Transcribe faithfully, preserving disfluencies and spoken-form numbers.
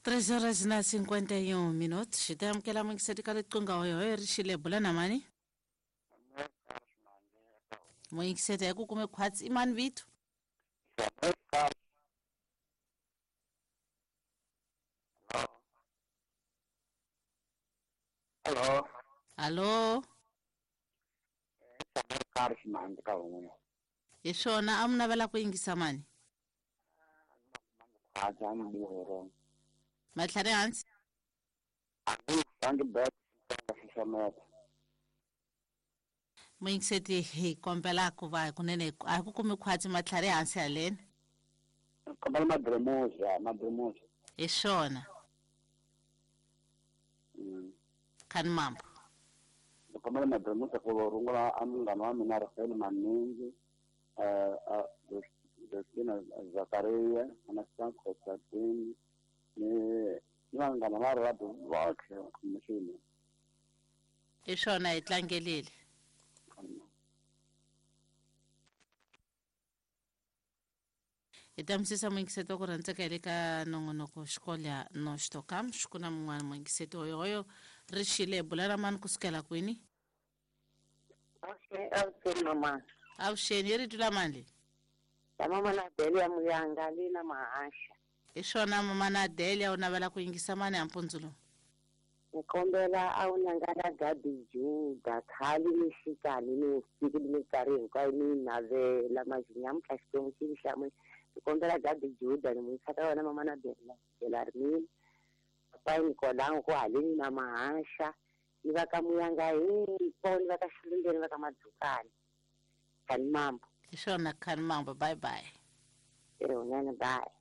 Três horas na cinquenta e um minutos. Hi ta amukela muyingiseri ka riqingho hoyo ri xile bula na mani? Muyingiseri hi ku kume khwatsi i mani vito? Hello. Alô? Hi swona a mi navela ku yingisa mani? Matlhari hansi? Muyingiseti hi kombela ku va kunene a ku kumi khwatsi matlhari hansi haleni. Kombela madremoza, madremoza. Hi swona. Khani mambo. Kombela madremoza ku rungula a munghana wa mina Rafael Maningi, eh Justina Zakaria, Anastasia Constantine, ni ni vanghana va radio votlhe mixini. Hi swona hi tlangelile. Hi ta misisa muyingiseti wa ku rhandzeka hi le ka nongonoko xikolya no xitokam xi na mun'wana muyingiseti hoyohoyo ri xile bula na mani kusukela kwini? Avuxeni mama. Avuxeni hi rito la mani leyi? Ya mama na Delia Muyanga le na Mahasha. Hi swona mama na Delia u navela ku yingisa mani ya mpundzu lowu? Ni kombela a wu nangana Gabi Juda khale ni xikani ni usiku ni minkarhi hinkwayo ni navela mazinyamutlha Xikwembu xi ni hlamula. Ni kombela Gabi Juda ni n'wi yisa ka wena mama na Delia Belarmine papa Nikolango ku haleni na Mahasha ni va ka Muyanga hinkwavo ni va ka Xilungeni ni va ka Madzukani. Khani mambo. Hi swona khani mambo, bye bye. Ewunene, bye.